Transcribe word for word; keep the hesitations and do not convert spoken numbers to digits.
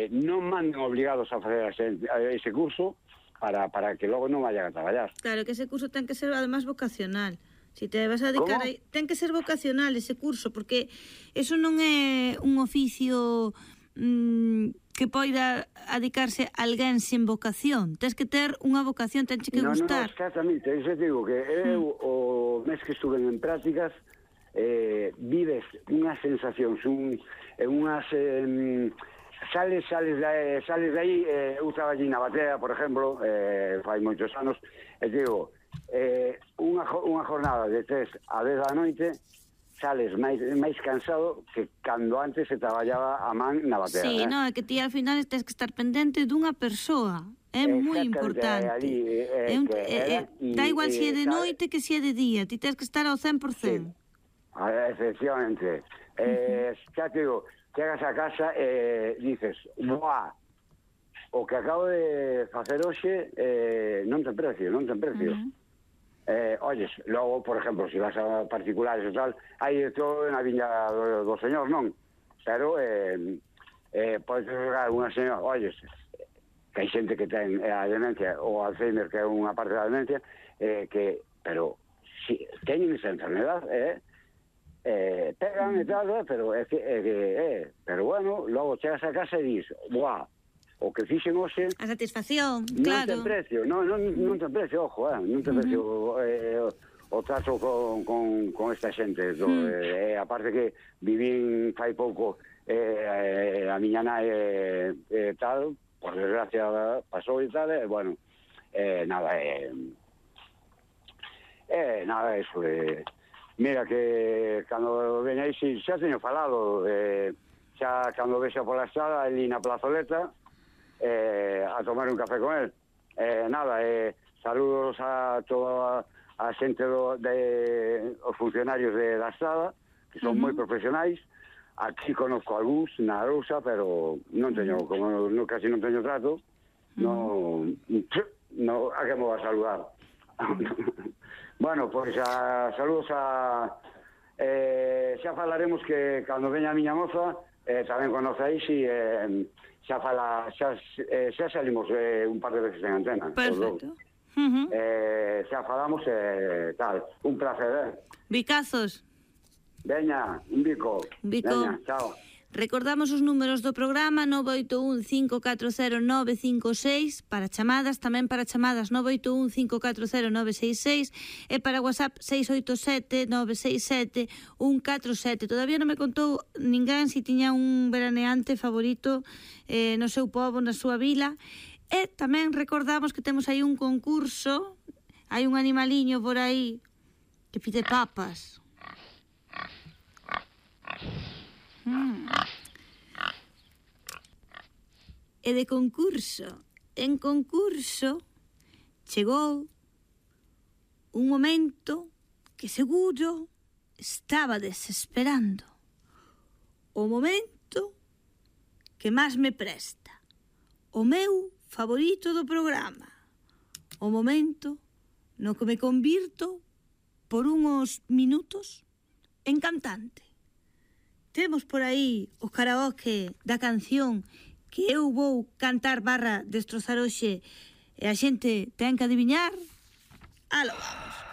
eh, non manden obligados a facer ese, a ese curso para, para que logo non vayan a traballar. Claro, que ese curso ten que ser además vocacional. Si te vas a dedicar ¿Cómo? a... Ten que ser vocacional ese curso, porque eso non é un oficio mmm, que poida dedicarse a alguén sin vocación. Tens que ter unha vocación, tens que no, gustar. No, no, exactamente. Eso te digo que eu, mm. o mes que estuve en prácticas, eh, vives unhas sensacións, un, unhas... Eh, sales, sales, de, sales de aí, eh, eu traballei na batea, por exemplo, eh, fai moitos anos, e digo, eh, unha, unha jornada de tres a dez da noite, sales máis, máis cansado que cando antes se traballaba a man na batea. Sí, eh? no, é que ti al final tens que estar pendente dunha persoa. É moi importante. Ali, eh, é un, que eh, era, y, da igual se si é de sabe, noite que se si é de día, ti tens que estar ao cen por cen. Sí. Efectivamente. Eh, uh-huh. Xa te digo, chegas a casa e eh, dices, buah, o que acabo de facer hoxe eh, non ten precio, non ten precio. Uh-huh. Eh, oyes, logo, por exemplo, se si vas a particulares e tal, hai todo na viña do, do señor, non? Pero eh, eh, podes jogar unha señora, oyes, que hai xente que ten a demencia ou Alzheimer, que é unha parte da demencia, eh, que, pero si teñen esa enfermedad, eh, eh, pegan e tal, eh, pero é que, eh, eh, pero bueno, logo chegas a casa e dis, buah, o que fixen hoxe... A satisfacción, non claro. Non ten precio, non, non, non ten precio, ojo, eh, non ten precio uh-huh. eh, o, o trato con, con, con esta xente. Do, uh-huh. eh, aparte que vivín fai pouco eh, a miña nai eh, eh, tal, por desgracia pasou e tal, e eh, bueno, eh, nada, eh, eh, nada, eso, eh, mira que cando veña aí, xa teño falado, eh, xa cando vexa pola estrada, ali na plazoleta, Eh, a tomar un café con él. Eh, nada, eh, saludos a toda a xente do, de os funcionarios de da estrada, que son uh-huh. moi profesionais. Aquí conozco algúns na Arousa, pero non teño, como no, casi non teño trato, uh-huh. no, no, a que me va a saludar. Bueno, pois pues, a, saludos a eh, xa falaremos que cando veña a miña moza, eh, tamén conocéis e eh, xa fala, xa, eh, xa salimos eh, un par de veces en antena. Perfecto. Uh-huh. Eh, xa falamos eh, tal, un placer, eh. Bicazos. Veña, un bico. Un bico. Veña, chao. Recordamos os números do programa nove oito un cinco catro cero nove cinco seis para chamadas, tamén para chamadas nove oito un cinco catro cero nove seis seis e para WhatsApp seis oito sete nove seis sete un catro sete. Todavía non me contou ninguén se tiña un veraneante favorito eh, no seu pobo, na súa vila. E tamén recordamos que temos aí un concurso, hai un animaliño por aí que pide papas. Mm. E de concurso, en concurso chegou un momento que seguro estaba desesperando, o momento que máis me presta, o meu favorito do programa, o momento no que me convirto por unhos minutos en cantante. Temos por aí o karaoke da canción que eu vou cantar barra destrozar hoxe e a xente ten que adiviñar. Aló vamos.